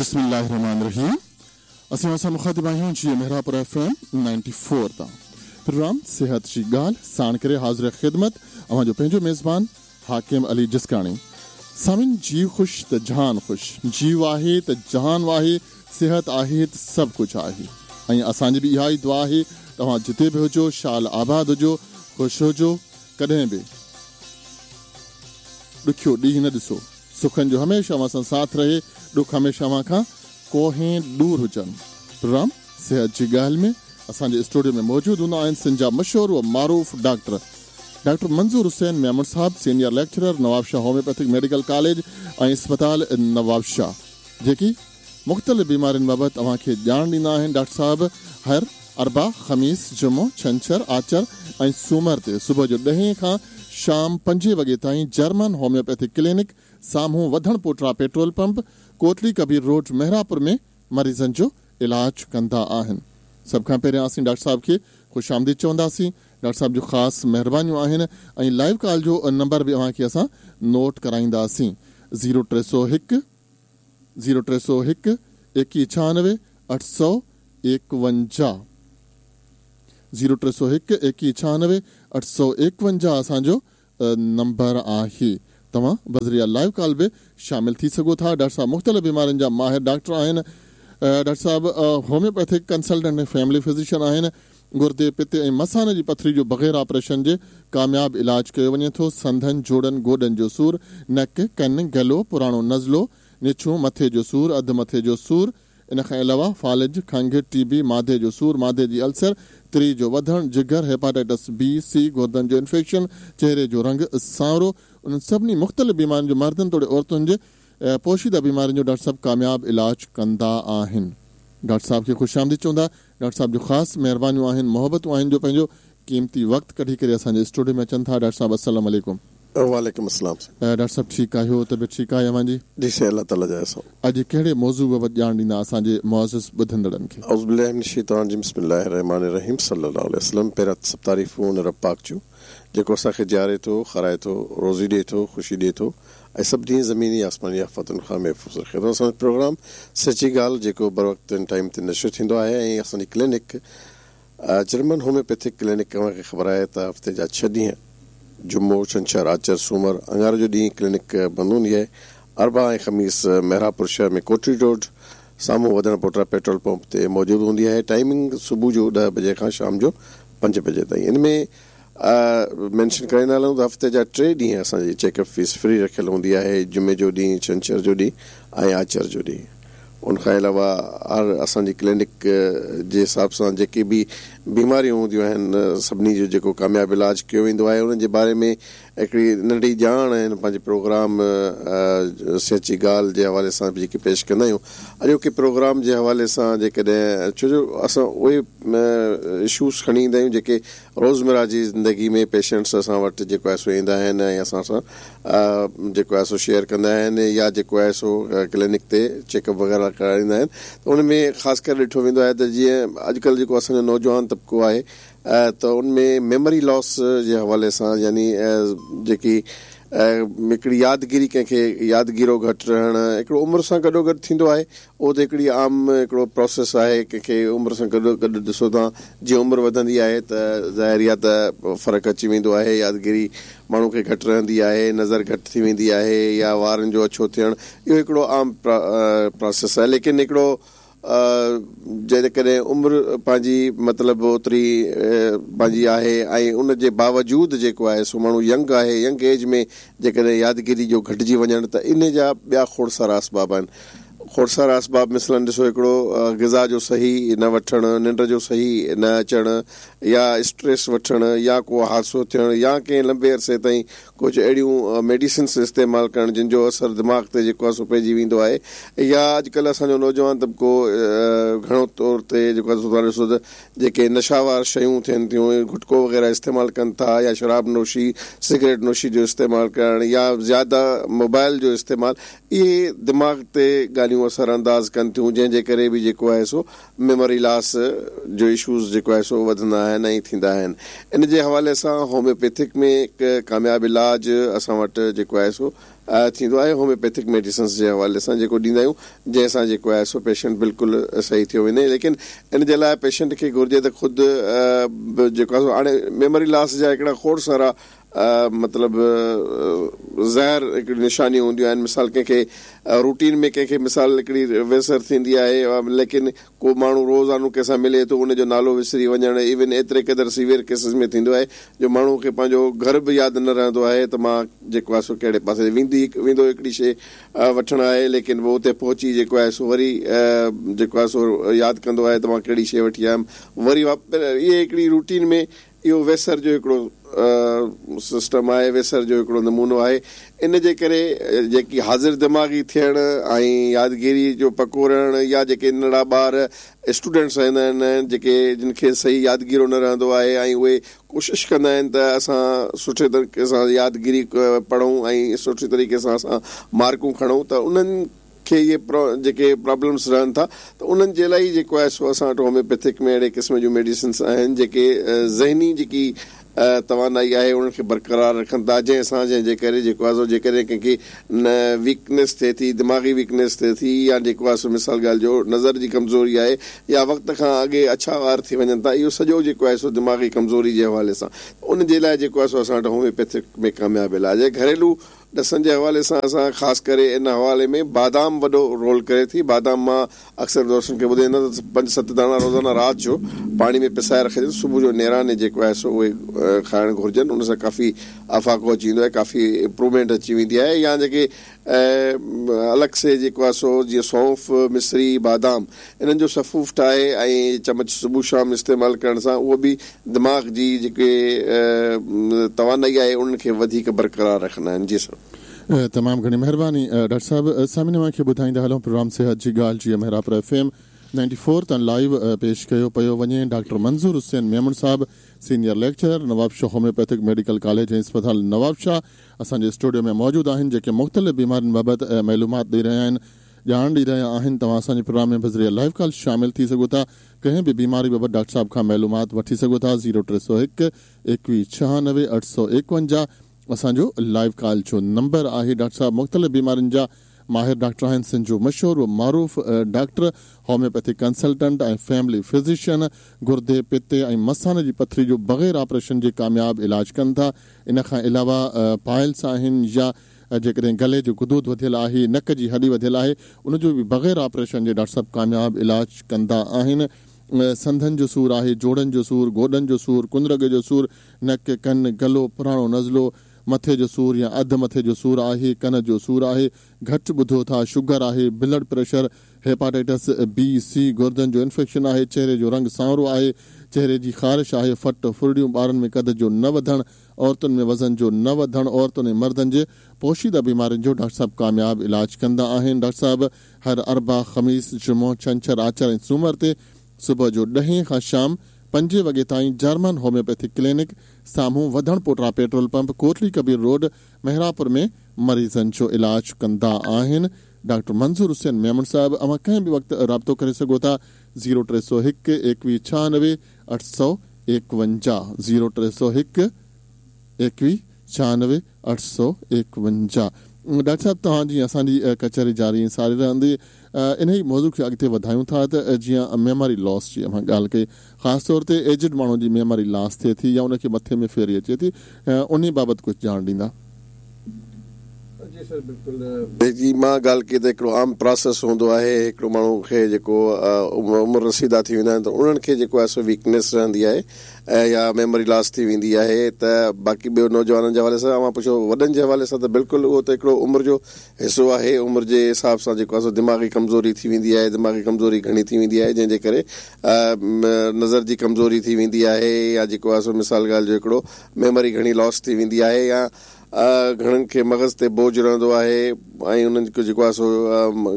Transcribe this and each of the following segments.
بسم الله الرحمن الرحيم اسين اوهان سان مخاطب آهيون جيئي محرابپور ايف ايم 94 تان پروگرام صحت جي ڳالهه ساڻ ڪري حاضر خدمت اوهان جو پنهنجو ميزبان حاڪم علي جسڪاڻي سامعين جيء خوش ته جهان خوش جيء آهي ته جهان آهي صحت آهي ته سڀ ڪجهه آهي ۽ اسان جي به اها ئي دعا آهي ته اوهان جتي به هجو شال آباد هجو خوش هجو ڪڏهن به ڏکيو ڏينهن نه ڏسو سکن جو هميشه اوهان سان ساٿ رهي ڏک هميشه اوهان کان ڪوهين ڏور هجن پروگرام صحت جي ڳالهه ۾ اسان جي اسٽوڊيو ۾ موجود هوندا آهن سنڌ جا مشهور و معروف ڊاڪٽر ڊاڪٽر منظور حسين ميمڻ صاحب senior lecturer Nawabshah homeopathic medical college ۽ اسپتال نوابشاهه جيڪي مختلف بيمارين بابت اوهان کي ڄاڻ ڏيندا آهن ڊاڪٽر صاحب هر اربع، خميس، جمعو، ڇنڇر، آچر ۽ سومر تي صبح جو ڏهين کان شام پنجين وڳي تائين جرمن هوميوپيٿڪ ڪلينڪ سامهون وڌڻ پوٽرا پيٽرول پمپ ڪوٽلي ڪبير روڊ محرابپور ۾ مريضن جو علاج ڪندا آهن. سڀ کان پهريان اسين ڊاڪٽر صاحب کي خوش آمديد چونداسين. ڊاڪٽر صاحب جون خاص مهربانيون آهن ۽ لائيو ڪال جو نمبر به اوهان کي اسان نوٽ ڪرائينداسين زيرو 301 زيرو 301 ايڪيهه 96 851 زيرو 301 ايڪيهه 96 851 اسان جو نمبر آهي توهان بذريعه لائيو ڪال به شامل ٿي سگهو ٿا ڊاڪٽر صاحب مختلف بيمارين جا ماهر ڊاڪٽر آهن ڊاڪٽر صاحب هوميوپيٿڪ ڪنسلٽنٽ ۽ فيملي فزيشن آهن گردي پتي ۽ مثاني جي پٿري جو بغير آپريشن جي ڪامياب علاج ڪيو وڃي ٿو سنڌن جوڙن گوڏن جو سور نڪ ڪن گلو پراڻو نزلو نڇون مٿي جو سور اڌ مٿي جو سور ان کان علاوه فالج، کنگهه، ٽي بي، معدي جو سور، معدي جي السر، تري جو وڌڻ، جگر، هيپاٽائٽس بي، سي، گردن جو انفيڪشن، چهري جو رنگ سانورو، انهن سڀني مختلف بيمارين جو مردن توڙي عورتن جي پوشيده بيمارين جو ڊاڪٽر صاحب ڪامياب علاج ڪندا آهن. ڊاڪٽر صاحب کي خوش آمديد چوندا. ڊاڪٽر صاحب جون خاص مهربانيون آهن، محبتون آهن جو پنهنجو قيمتي وقت ڪڍي ڪري اسان جي اسٽوڊيو ۾ اچن ٿا. ڊاڪٽر صاحب السلام عليڪم. وعليڪم السلام سائين. ڊاڪٽر صاحب ٺيڪ آهيو طبيعت ٺيڪ آهي اوهان جي؟ جي سائين الله تعالي جا احسان. اڄ ڪهڙي موضوع بابت ڄاڻ ڏيندا اسان جي معزز ٻڌندڙن کي؟ اعوذ بالله من الشيطان الرجيم بسم الله الرحمٰن الرحيم صلي الله عليه وسلم پهريان ته سڀ تعريفون ان رب پاڪ جون جيڪو اسان کي جياري ٿو کارائي ٿو روزي ڏئي ٿو خوشي ڏئي ٿو ۽ سڀني زميني آسماني آفتن کان محفوظ رکي ٿو اسان جو پروگرام سچي ڳالهه جيڪو بروقت ۽ ٽائيم تي نشر ٿيندو آهي ۽ اسان جي ڪلينڪ جرمن هوميوپيٿڪ ڪلينڪ اوهان کي خبر آهي ته هفتي جا ڇهه ڏينهن جمعو، ڇنڇر، آچر، سومر، اڱاري جو ڏينهن ڪلينڪ بند هوندي آهي. اربع ۽ خميس محرابپور شهر ۾ ڪوٽڙي روڊ سامهون وڌڻ پوٽرا پيٽرول پمپ تي موجود هوندي آهي. ٽائيمنگ صبح جو ڏهه بجي کان شام جو پنج بجي تائين. ان ۾ مينشن ڪرائيندا هلون ته هفتي جا ٽي ڏينهن اسان جي چيڪ اپ فيس فري رکيل هوندي آهي جمعي جو ڏينهن، ڇنڇر جو ڏينهن ۽ آچر جو ڏينهن. ان کان علاوه هر اسان جي ڪلينڪ جي حساب سان جيڪي به بيماريون هونديون آهن سڀني جو جيڪو ڪامياب علاج ڪيو ويندو آهي انهن جي باري ۾ هڪڙي ننڍي ڄاڻ هن پنهنجي پروگرام سچي ڳالهه جي حوالي سان به جيڪي پيش ڪندا آهيون اڄوڪي پروگرام جي حوالي سان جيڪڏهن ڇو جو اسان اهي اشوز کڻي ايندا آهيون جيڪي روزمره جي زندگي ۾ پيشنٽس اسان وٽ جيڪو آهي سو ايندا آهن ۽ اسان سان جيڪو آهي سو شيئر ڪندا آهن يا جيڪو آهي سو ڪلينڪ تي چيڪ اپ وغيره ڪرائيندا آهن ته ان ۾ خاص ڪري ڏٺو ويندو آهي ته جيئن اڄڪلهه جيڪو اسان جو نوجوان طبقو آهي ته ان ۾ ميموري لاس جي حوالي سان يعني جيڪي هڪڙي يادگيري ڪنهن کي يادگيرو گهٽ رهڻ هڪڙو عمر سان گڏو گڏ ٿيندو آهي اهو ته هڪڙي عام هڪڙو پروسيس آهي ڪنهن کي عمر سان گڏو گڏ ڏسو ته جيئن عمر وڌندي آهي ته ظاهر آهي ته فرق اچي ويندو آهي يادگيري ماڻهو کي گهٽ رهندي آهي نظر گهٽ ٿي ويندي آهي يا وارن جو اڇو ٿيڻ اهو هڪڙو عام پروسيس آهي ليڪن هڪڙو جيڪڏهن عمر پنهنجي مطلب اوتري پنهنجي آهي ۽ ان جي باوجود جيڪو آهي سو ماڻهو ينگ آهي ينگ ايج ۾ جيڪڏهن يادگيري جو گهٽجي وڃڻ ته ان جا ٻيا کوڙ سارا اسباب آهن کوڙ سارا اسباب مثلاً ڏسو هڪڙو غذا جو صحيح نه وٺڻ، ننڊ جو صحيح نه اچڻ يا اسٽريس وٺڻ يا ڪو حادثو ٿيڻ يا ڪنهن لنبي عرصي تائين ڪجهه اهڙيون ميڊيسنس استعمال ڪرڻ جن جو اثر دماغ تي جيڪو آهي سو پئجي ويندو آهي يا اڄڪلهه اسان جو نوجوان طبقو گهڻو طور تي جيڪو آهي سو توهان ڏسو ته جيڪي نشاوار شيون ٿين ٿيون گٽڪو وغيره استعمال ڪن ٿا يا شراب نوشي سگريٽ نوشي جو استعمال ڪرڻ يا زياده موبائل جو استعمال اهي دماغ تي ڳالهيون اثر انداز ڪن ٿيون جنهن جي ڪري به جيڪو آهي سو ميموري لاس جو اشوز جيڪو آهي سو وڌندا آهن ۽ ٿيندا آهن ان جي حوالي سان هوميوپيٿڪ ۾ هڪ ڪامياب علاج اسان وٽ جيڪو آهي سو ٿيندو آهي هوميوپيٿڪ ميڊيسنس جي حوالي سان جيڪو ڏيندا آهيون جنهن سان جيڪو آهي سو پيشنٽ بلڪل صحيح ٿيو وڃي ليڪن ان جي لاء پيشنٽ کي گهرجي ته خود جيڪو آهي سو هاڻي ميموري لاس جا هڪڙا کوڙ سارا مطلب ظاهر هڪڙي نشانيون هونديون آهن مثال ڪنهن کي روٽين ۾ ڪنهن کي مثال هڪڙي ويسر ٿيندي آهي ليڪن ڪو ماڻهو روزانو ڪنهن سان ملي ٿو ان جو نالو وسري وڃڻ ايون ايتري قدر سيويئر ڪيسز ۾ ٿيندو آهي جو ماڻهو کي پنهنجو گهر به ياد نه رهندو آهي ته مان جيڪو آهي سو ڪهڙي پاسي ويندي ويندو هڪڙي شيء وٺڻ آهي ليڪن پوء اتي پهچي جيڪو آهي سو وري جيڪو آهي سو ياد ڪندو آهي ته مان ڪهڙي شيء وٺي آيم وري اهي هڪڙي روٽين ۾ اهو ويسر جو هڪڙو سسٽم آهي، ويسر جو هڪڙو نمونو آهي. ان جي ڪري جيڪي حاضر دماغي ٿيڻ ۽ يادگيري جو پڪو رهڻ يا جيڪي ننڍڙا ٻار اسٽوڊنٽس هوندا آهن جيڪي جن کي صحيح يادگيرو نه رهندو آهي ۽ اهي ڪوشش ڪندا آهن ته اسان سٺي طريقي سان يادگيري پڙهون ۽ سٺي طريقي سان اسان مارڪون کڻون ته انهن کي اهي جيڪي پرابلمس رهن ٿا ته انهن جي لاء ئي جيڪو آهي سو اسان وٽ هوميوپيٿڪ ۾ اهڙي قسم جون ميڊيسنس آهن جيڪي ذهني جيڪي توانائي آهي انهن کي برقرار رکن ٿا جنهن سان جنهن جي ڪري جيڪو آهي سو جيڪڏهن ڪنهن کي ويڪنيس ٿئي ٿي دماغي ويڪنيس ٿئي ٿي يا جيڪو آهي سو مثال ڳالهه جو نظر جي ڪمزوري آهي يا وقت کان اڳي اڇا وار ٿي وڃن ٿا اهو سڄو جيڪو آهي سو دماغي ڪمزوري جي حوالي سان ان جي لاء جيڪو آهي سو اسان وٽ هوميوپيٿڪ ۾ ڪامياب علاج آهي گهريلو ڏسن جي حوالي سان اسان خاص ڪري ان حوالي ۾ بادام وڏو رول ڪري ٿي. بادام مان اڪثر دوستن کي ٻڌائيندو آهيان ته پنج ست داڻا روزانه رات جو پاڻي ۾ پسائي رکجن صبح جو نيراني جيڪو آهي سو اهي کائڻ گهرجن ان سان ڪافي افاقو اچي ويندو آهي ڪافي امپروومينٽ اچي ويندي آهي يا جيڪي الڳ سي جيڪو آهي سو جيئن سونف، مصري، بادام انهن جو سفوف ٺاهي ۽ چمچ صبح شام استعمال ڪرڻ سان اهو به دماغ جي جيڪي توانائي آهي انهن کي وڌيڪ برقرار رکندا آهن جي سر. تمام گهڻي مهرباني ڊاڪٽر صاحب سامعين اوهان کي ٻڌائيندا هلون پروگرام صحت جي ڳالهه جي Mehrabpur F M ninety four تان لائيو پيش ڪيو پيو وڃي ڊاڪٽر منظور حسين ميمڻ صاحب senior lecturer Nawabshah homeopathic medical college ۽ اسپتال نوابشاهه اسان جي اسٽوڊيو ۾ موجود آهن جيڪي مختلف بيمارين بابت معلومات ڏئي رهيا آهن ڄاڻ ڏئي رهيا آهن توهان اسان جي پروگرام ۾ بذريعه لائيو ڪال شامل ٿي سگهو ٿا ڪنهن به بيماري بابت ڊاڪٽر صاحب کان معلومات وٺي سگهو ٿا زيرو 301 21 96 851 اسان جو لائيو ڪال جو نمبر آهي ڊاڪٽر صاحب مختلف بيمارين جا ماهر ڊاڪٽر آهن سنڌ جو مشهور و معروف doctor homeopathic consultant ۽ family physician گردي پتي ۽ مثاني جي پٿري جو بغير آپريشن جي ڪامياب علاج ڪن ٿا ان کان علاوه پائلس آهن يا جيڪڏهن گلي جو غدود وڌيل آهي، نڪ جي هڏي وڌيل آهي، ان جو به بغير آپريشن جي ڊاڪٽر صاحب ڪامياب علاج ڪندا آهن. سنڌن جو سور آهي، جوڙن جو سور، گوڏن جو سور، ڪنرڳ جو سور، نڪ، ڪن، گلو، پراڻو نزلو، مٿي جو سور يا اڌ مٿي جو سور آهي، ڪن جو سور آهي، گهٽ ٻڌو ٿا، شگر آهي، بلڊ پريشر، هيپاٽائٽس بي، سي، گردن جو انفيڪشن آهي، چهري جو رنگ سانورو آهي، چهري جي خارش آهي، ڦٽ، ڦرڙيون، ٻارن ۾ قد جو نه وڌڻ، عورتن ۾ وزن جو نه وڌڻ، عورتن ۽ مردن جي پوشيده بيمارين جو ڊاڪٽر صاحب ڪامياب علاج ڪندا آهن. ڊاڪٽر صاحب هر اربع، خميس، جمعو، ڇنڇر، آچر ۽ سومر تي صبح جو ڏهين کان شام پنجين وڳي تائين جرمن هوميوپيٿڪ ڪلينڪ سامهون وڌڻ پوٽرا petrol pump Kotli Kabir road Mehrapur ۾ مريضن جو علاج ڪندا آهن. ڊاڪٽر منظور حسين ميمڻ صاحب اوهان ڪنهن به وقت رابطو ڪري سگهو ٿا زيرو 301 21 96 851 زيرو 301 21 96 851 ڊاڪٽر صاحب توهان جي اسان جي ڪچهري جاري ۽ ساري رهندي انهي موضوع کي اڳتي وڌايون ٿا ته جيئن ميموري لاس جي اوهان ڳالهه ڪئي خاص طور تي ايجڊ ماڻهو جي ميموري لاس ٿئي ٿي يا ان کي مٿي ۾ ڦيري اچي ٿي انهي بابت ڪجهه ڄاڻ ڏيندا. جي سر بلڪل. جي مان ڳالهه ڪئي ته هڪڙو عام پراسيس هوندو آهي هڪڙو ماڻهو کي جيڪو عمر رسيده ٿي ويندا آهن ته انهن کي جيڪو آهي سو ويڪنيس رهندي آهي ۽ يا ميموري لاس ٿي ويندي آهي ته باقي ٻيو نوجوانن جي حوالي سان اوهان پڇو وڏن جي حوالي سان ته بلڪل اهو ته هڪڙو عمر جو حصو آهي عمر جي حساب سان جيڪو آهي سو دماغي ڪمزوري ٿي ويندي آهي دماغي ڪمزوري گهڻي ٿي ويندي آهي جنهن جي ڪري نظر جي ڪمزوري ٿي ويندي آهي يا جيڪو آهي سو مثال ڳالهه جو هڪڙو ميموري گهڻي لاس ٿي ويندي آهي يا گهڻن کي مغز تي بوجه رهندو آهي ۽ انهن کي جيڪو آهي سو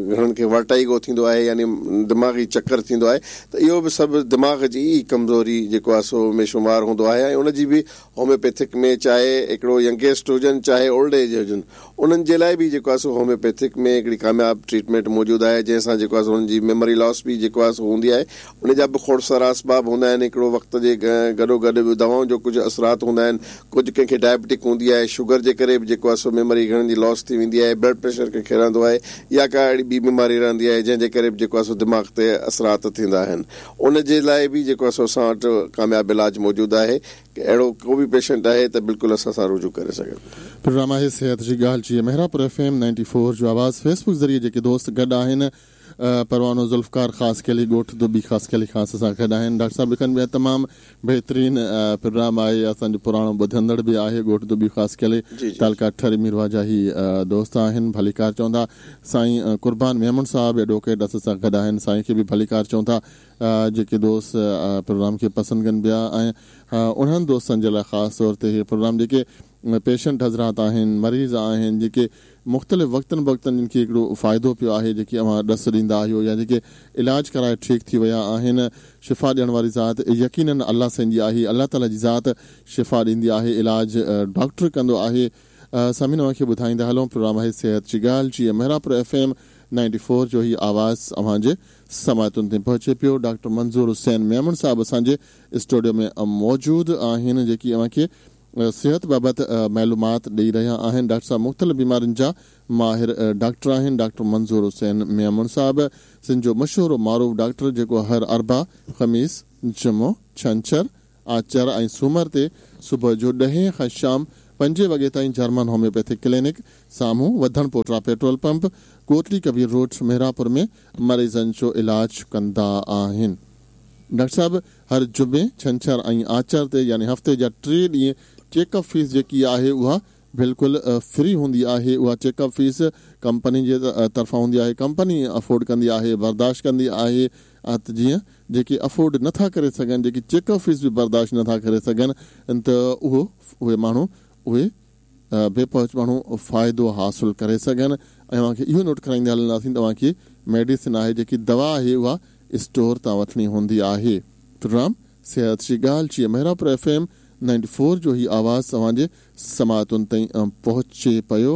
گهڻن کي ورٽائيگو ٿيندو آهي يعني دماغي چڪر ٿيندو آهي ته اهو به سڀ دماغ جي ئي ڪمزوري جيڪو آهي سو ۾ شمار هوندو آهي ۽ ان جي به هوميوپيٿڪ ۾ چاهي هڪڙو ينگيسٽ هجن چاهي اولڊ ايج هجن انهن جي لاء به جيڪو آهي سو هوميوپيٿڪ ۾ هڪڙي ڪامياب ٽريٽمينٽ موجود آهي جنهن سان جيڪو آهي سو انهن جي ميموري لاس به جيڪو آهي سو هوندي آهي ان جا به کوڙ سارا اسباب هوندا آهن هڪڙو وقت جي گڏو گڏ دوائن جو ڪجهه اثرات هوندا آهن ڪجهه ڪنهن کي ڊائبٽڪ هوندي آهي شگر جي جي ڪري به جيڪو آهي سو ميموري گهڻن جي لاس ٿي ويندي آهي، بلڊ پريشر ڪنهن کي رهندو آهي يا ڪا اهڙي ٻي بيماري رهندي آهي جنهن جي ڪري به جيڪو آهي سو دماغ تي اثرات ٿيندا آهن ان جي لاء به جيڪو آهي سو اسان وٽ ڪامياب علاج موجود آهي اهڙو ڪو به پيشنٽ آهي ته بلڪل اسان سان رجوع ڪري سگهي ٿو. پروگرام آهي صحت جي ڳالهه جي Mehrabpur F M ninety four جو آواز فيس بڪ ذريعي جيڪي دوست گڏ آهن پروانو ذوالفقار خاصخيلي ڳوٺ دٻي خاصخيلي کان اسان سان گڏ آهن ڊاڪٽر صاحب لکن پيا تمام بهترين پروگرام آهي اسان جو پراڻو ٻڌندڙ به آهي ڳوٺ دٻي خاصخيلي تعلقه ٺري ميرواهه جا هي دوست آهن ڀليڪار چون ٿا سائين قربان ميمڻ صاحب ايڊووڪيٽ اسان سان گڏ آهن سائين کي به ڀليڪار چون ٿا جيڪي دوست پروگرام کي پسند ڪن پيا ۽ انهن دوستن جي لاء خاص طور تي هي پروگرام جيڪي پيشنٽ حضرات آهن مريض آهن جيڪي مختلف وقتن بوقتن جن کي هڪڙو فائدو پيو آهي جيڪي اوهان ڏس ڏيندا آهيو يا جيڪي علاج ڪرائي ٺيڪ ٿي ويا آهن شفا ڏيڻ واري ذات يقينن الله سائين جي آهي الله تعالي جي ذات شفا ڏيندي آهي علاج ڊاڪٽر ڪندو آهي سامعين اوهان کي ٻڌائيندا هلون پروگرام آهي صحت جي ڳالهه جي Mehrabpur F M ninety four جو هي آواز اوهان جي سماعتن تائين پهچي پيو. ڊاڪٽر منظور حسين ميمڻ صاحب اسان جي اسٽوڊيو ۾ موجود آهن جيڪي اوهان کي صحت بابت معلومات ڏئي رهيا آهن. ڊاڪٽر صاحب مختلف بيمارين جا ماهر ڊاڪٽر آهن. ڊاڪٽر منظور حسين ميمڻ صاحب سنڌ جو مشهور و معروف ڊاڪٽر جيڪو هر اربع، خميس، جمعو، ڇنڇر، آچر ۽ سومر تي صبح جو ڏهين کان شام پنجين وڳي تائين جرمن هوميوپيٿڪ ڪلينڪ سامهون وڌڻ پوٽرا petrol pump Kotli Kabir road Mehrapur ۾ مريضن جو علاج ڪندا آهن. ڊاڪٽر صاحب هر جمعي، ڇنڇر ۽ آچر تي يعني هفتي جا ٽي ڏينهن چيڪ اپ فيس جيڪي آهي اها بلڪل فري هوندي آهي اها چيڪ اپ فيس ڪمپني جي طرفان هوندي آهي ڪمپني افورڊ ڪندي آهي برداشت ڪندي آهي ته جيئن جيڪي افورڊ نه ٿا ڪري سگهن جيڪي چيڪ اپ فيس به برداشت نه ٿا ڪري سگهن ته اهو اهي ماڻهو اهي بي پهچ ماڻهو فائدو حاصل ڪري سگهن ۽ اوهان کي اهو نوٽ ڪرائيندا هلنداسين ته اوهان کي ميڊيسن آهي جيڪي دوا آهي اها اسٽور تان وٺڻي هوندي آهي پروگرام صحت جي ڳالهه جي Mehrabpur F M ninety four جو هي آواز اوهان جي سماعتن تائين پهچي پيو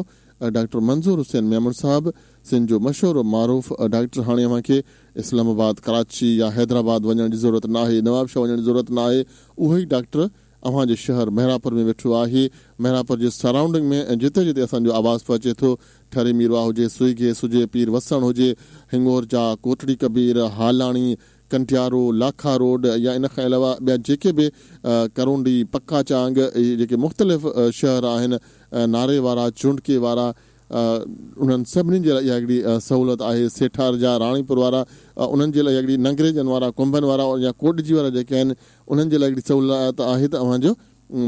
ڊاڪٽر منظور حسين ميمڻ صاحب سنڌ جو مشهور و معروف ڊاڪٽر هاڻي اوهان کي اسلام آباد، ڪراچي يا حيدرآباد وڃڻ جي ضرورت ناهي، نوابشاهه وڃڻ جي ضرورت ناهي، اهو ئي ڊاڪٽر اوهان جي شهر مهراپور ۾ ويٺو آهي، مهراپور جي سرائونڊنگ ۾ جتي جتي اسان جو آواز پهچي ٿو، ٺري ميرواهه هجي، سوئي گيس هجي، پير وسڻ هجي، هڱورجا، ڪوٽڙي ڪبير، هالاڻي، ڪنڊيارو، لاکا روڊ يا ان کان علاوه ٻيا جيڪي به ڪرونڊي، پڪا چانگ اهي جيڪي مختلف شهر آهن، ناري وارا، چونڊڪي وارا، انهن سڀني جي لاء اها هڪڙي سهولت آهي، سيٺارجا، راڻيپور وارا انهن جي لاء هڪڙي ننگريجن وارا، ڪنڀن وارا يا ڪوٽڏجي وارا جيڪي آهن انهن جي لاء هڪڙي سهولت آهي ته اوهان جو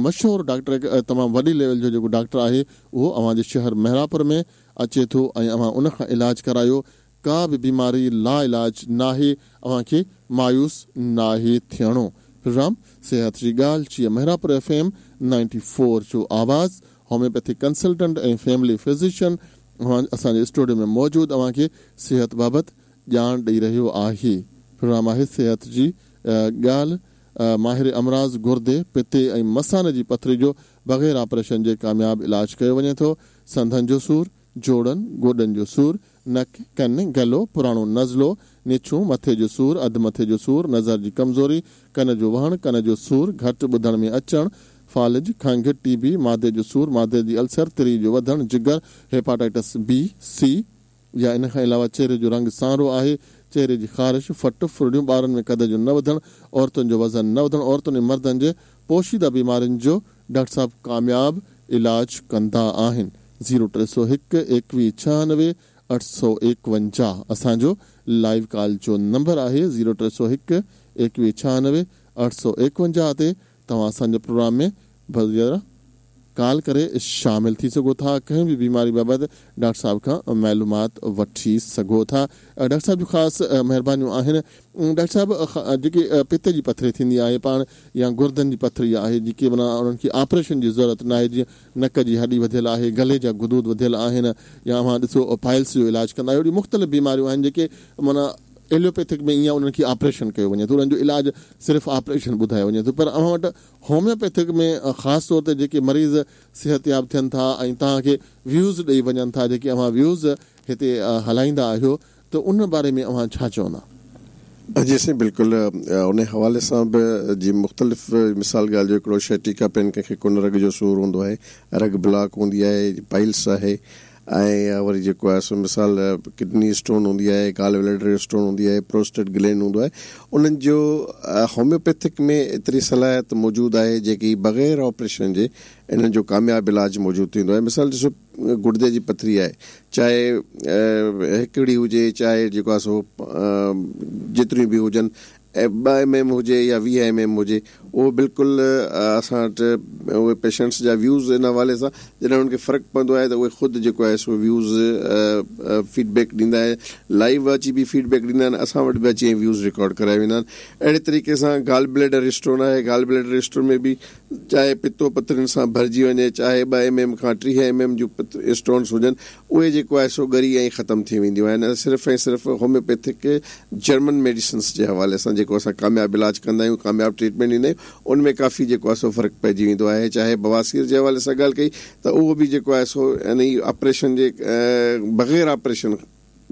مشهور ڊاڪٽر هڪ تمام وڏي ليول جو جيڪو ڊاڪٽر آهي اهو اوهان جي شهر مهراپور ۾ اچي ٿو ۽ اوهان ان کان علاج ڪرايو ڪا به بيماري لاعلاج ناهي اوهان کي مايوس ناهي ٿيڻو پروگرام صحت جي ڳالهه جي Mehrabpur F M ninety four جو آواز هوميوپيٿڪ ڪنسلٽنٽ ۽ فيملي فزيشن اوهان اسان جي اسٽوڊيو ۾ موجود اوهان کي صحت بابت ڄاڻ ڏئي رهيو آهي پروگرام آهي صحت جي ڳالهه ماهر امراض گردي پتي ۽ مثاني جي پٿري جو بغير آپريشن جي ڪامياب علاج ڪيو وڃي ٿو سنڌن جو سور جوڙن، گوڏن جو سور، نڪ، ڪن، گلو، پراڻو نزلو، نڇون، مٿي جو سور، اڌ مٿي جو سور، نظر جي ڪمزوري، ڪن جو وهڻ، ڪن جو سور، گهٽ ٻڌڻ ۾ اچڻ، فالج، کنگهه، ٽي بي، معدي جو سور، معدي جي السر، تري جو وڌڻ، جگر، هيپاٽائٽس بي، سي، يا ان کان علاوه چهري جو رنگ سانورو آهي، چهري جي خارش، ڦٽ، ڦرڙيون، ٻارن ۾ قد جو نه وڌڻ، عورتن جو وزن نه وڌڻ، عورتن ۽ مردن جي پوشيده بيمارين جو ڊاڪٽر صاحب ڪامياب علاج ڪندا آهن. زيرو 301 21 96 851 اسان جو لائيو ڪال جو نمبر آهي زيرو 301 21 96 851 تي توهان اسان جي پروگرام ۾ بذريعه ڪال ڪري شامل ٿي سگهو ٿا ڪنهن به بيماري بابت ڊاڪٽر صاحب کان معلومات وٺي سگهو ٿا ڊاڪٽر صاحب جون خاص مهربانيون آهن ڊاڪٽر صاحب جيڪي پتي جي پٿري ٿيندي آهي پاڻ يا گردن جي پٿري آهي جيڪي معنيٰ انهن کي آپريشن جي ضرورت ناهي جيئن نڪ جي هڏي وڌيل آهي گلي جا غدود وڌيل آهن يا اوهان ڏسو پائلس جو علاج ڪندا آهيو اهڙيون مختلف بيماريون آهن جيڪي معنيٰ ايلوپيٿڪ ۾ ائين انهن کي آپريشن ڪيو وڃي ٿو انهن جو علاج صرف آپريشن ٻڌايو وڃي ٿو پر اوهان وٽ هوميوپيٿڪ ۾ خاص طور تي جيڪي مريض صحتياب ٿين ٿا ۽ توهان کي ويوز ڏئي وڃن ٿا جيڪي اوهان ويوز هتي هلائيندا آهيو ته ان باري ۾ اوهان ڇا چوندا؟ جي سائين بلڪل ان حوالي سان به جي مختلف مثال ڳالهه جو هڪڙو شيٽيڪا پين ڪنهن کي ڪن رڳ جو سور هوندو آهي رڳ بلاڪ هوندي آهي پائلس آهي ۽ وري جيڪو آهي سو مثال ڪڊني اسٽون هوندي آهي گال بليڊر اسٽون هوندي آهي پروسٽيٽ گلينڊ هوندو آهي انهن جو هوميوپيٿڪ ۾ ايتري صلاحيت موجود آهي جيڪي بغير آپريشن جي انهن جو ڪامياب علاج موجود ٿيندو آهي مثال ڏسو گڙدي جي پٿري آهي چاهي هڪڙي هجي چاهي جيڪو آهي سو جيتريون به هجن ٻه ايم ايم هجي يا 20 ايم ايم هجي اهو بلڪل اسان وٽ اهي پيشنٽس جا ويوز ان حوالي سان جڏهن انهن کي فرق پوندو آهي ته اهي خود جيڪو آهي سو ويوز فيڊ بيڪ ڏيندا آهن لائيو اچي به فيڊ بيڪ ڏيندا آهن اسان وٽ به اچي ۽ ويوز رڪارڊ ڪرايا ويندا آهن اهڙي طريقي سان گال بليڊر اسٽون آهي گال بليڊر اسٽون ۾ به چاهي پتو پٿرين سان ڀرجي وڃي، چاهي ٻه ايم ايم کان 30 ايم ايم جون اسٽونس هجن، اهي جيڪو آهي سو ڳري ۽ ختم ٿي وينديون آهن ۽ صرف ۽ صرف هوميوپيٿڪ جرمن ميڊيسنس جي حوالي سان جيڪو اسان ڪامياب علاج ڪندا آهيون، ڪامياب ٽريٽمينٽ ڏيندا آهيون، ان ۾ ڪافي جيڪو آهي سو فرق پئجي ويندو آهي. چاهي بواسير جي حوالي سان ڳالهه ڪئي ته اهو به جيڪو آهي سو يعني آپريشن جي بغير آپريشن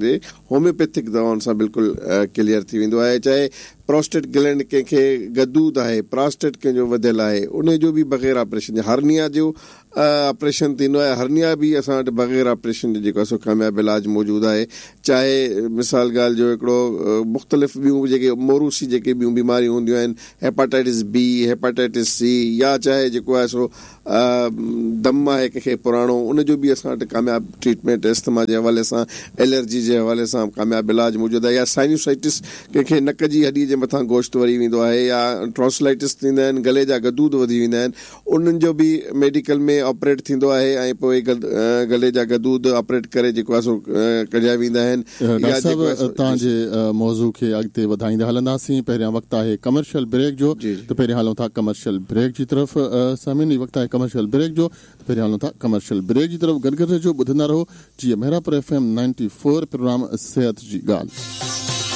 جي هوميوپيٿڪ دوائن سان بلڪل ڪليئر ٿي ويندو آهي چاهي پراسٽيٽ گلينڊ ڪنهن کي غدود آهي پراسٽيٽ ڪنهن جو وڌيل آهي انهي جو به بغير آپريشن جي هرنيا جو آپريشن ٿيندو آهي هرنيا به اسان وٽ بغير آپريشن جي جيڪو آهي سو ڪامياب علاج موجود آهي چاهي مثال ڳالهه جو هڪڙو مختلف ٻيون جيڪي موروثي جيڪي ٻيون بيماريون هونديون آهن هيپاٽائٽس بي هيپاٽائٽس سي يا چاهي جيڪو آهي سو دم آهي ڪنهن کي پراڻو ان جو به اسان وٽ ڪامياب ٽريٽمينٽ اسٿما جي حوالي سان الرجي جي حوالي سان ڪامياب علاج موجود آهي يا سائنوسائٽس ڪنهن کي نڪ جي هڏي جي مٿان گوشت وري ويندو آهي يا ٽانسلائٽس ٿيندا آهن گلي جا غدود وڌي ويندا آهن انهن جو به ميڊيڪل ۾ آپريٽ ٿيندو آهي ۽ پوء گلي جا غدود آپريٽ ڪري جيڪو آهي سو ڪڍيا ويندا آهن ڊاڪٽر صاحب توهان جي موضوع کي اڳتي وڌائيندا هلنداسين پهريان وقت آهي ڪمرشل بريڪ جو ته پهريان هلون ٿا ڪمرشل بريڪ جي طرف سامعين هي وقت آهي ڪمرشل بريڪ جو ته پهريان هلون ٿا ڪمرشل بريڪ جي طرف گڏ گڏ رهجو ٻڌندا رهو جيئي مهراپور ايف ايم 94 پروگرام صحت جي ڳالهه.